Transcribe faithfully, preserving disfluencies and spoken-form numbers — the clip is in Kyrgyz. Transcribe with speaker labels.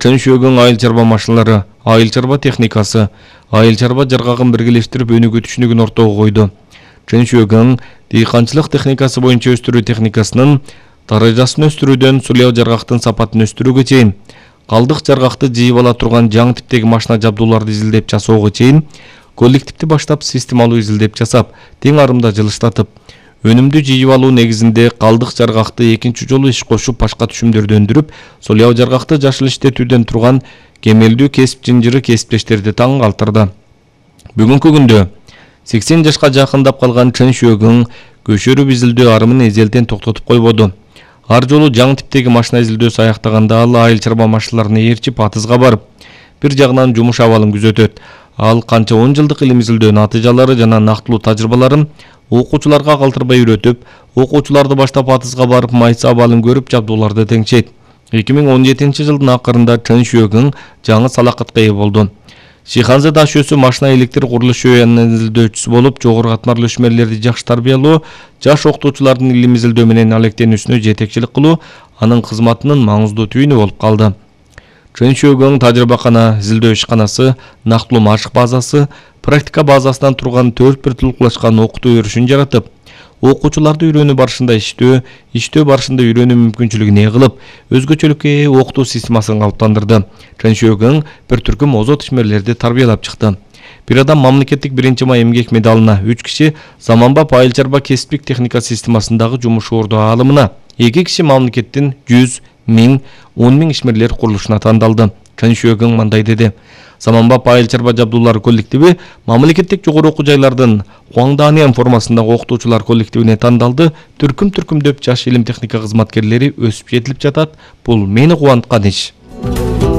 Speaker 1: Чын шөгөн айыл чарба машиналары, айыл чарба техникасы, айыл чарба жаргагын биргелештирип өнүгүү түшүнүгүн ортого койду. Чын шөгөн дыйканчылык техникасы боюнча өстүрүү техникасынын даражасын өстүрүүдөн сулуу жаргактын сапатын өстүрүүгө чейин, калдык жаргакты жыйып ала турган жаңы типтеги машина жабдууларды изилдеп жасоого чейин, коллективди баштап системалуу изилдеп жасап, тең арымда жылыштатып, өнүмдү жыйып алуу негизинде калдык жаргакты экинчи жолу иш кошуп башка түшүмдөрдү өндүрүп, сулуу жаргакты жашыл иштетүүдөн турган кемелдүү кесип жынжыры кесиптештерди таң калтырды. Бүгүнкү күндө сексен жашка жакындап калган Чын шөгөн көчөрүп изилдөө арымын эзелтен токтотуп койбоду. Ар жолу жаңы типтеги машина изилдөөсү аяктаганда ал айыл чарба машиналарын ээрчип атызга барып, бир жагынан жумуш абалын күзөтөт. Ал канча он жылдык илим изилдөө натыйжалары жана нактылуу тажрыйбаларын окуучуларга калтырбай үйрөтүп, окуучуларды баштап атызга барып майса абалын көрүп жабдууларды теңчейт. эки миң он жетинчи жылдын акырында Чын шөгөн жаңы салакатка ээ болду. Шиханзе Дашөсү машина электр курулуш жүйөнүнүн изилдөөчүсү болуп, жогору катмарлуу ишмерлерди жакшы тарбиялоо, жаш окутуучулардын илим изилдөө менен алектенүүсүнө жетекчилик кылуу анын кызматынын маңыздуу түйүнү болуп калды. Чын шөгөн тажрыйбакана, изилдөө ишканасы, нактылуу машык базасы, практика базасынан турган төрт бир тулкулашкан окутуу өрүшүн жаратып, окуучуларды үйрөнүү барышында иштөө, иштөө барышында үйрөнүү мүмкүнчүлүгүн ээ кылып, өзгөчөлүккө ээ окутуу системасын калыптандырды. Чын шөгөн бир түркүм озот ишмерлерди тарбиялап чыкты. Бир адам мамлекеттик биринчи май эмгек медалына, үч киши Заманбап айыл чарба кесиптик техника системасындагы жумуш орду аалымына, эки киши мамлекеттин жүз, миң, он миң ишмерлер курулушуна тандалды. Чын шөгөн мындай деди: Заманбап айыл чарба жабдуулары коллективи мамлекеттик жогору окуу жайлардын Хуаңданиан формасындагы окутуучулар коллективине тандалды. Түркүм-түркүмдөп жаш илим техника кызматкерлери өсүп жетилип жатат. Бул мени кубанткан иш.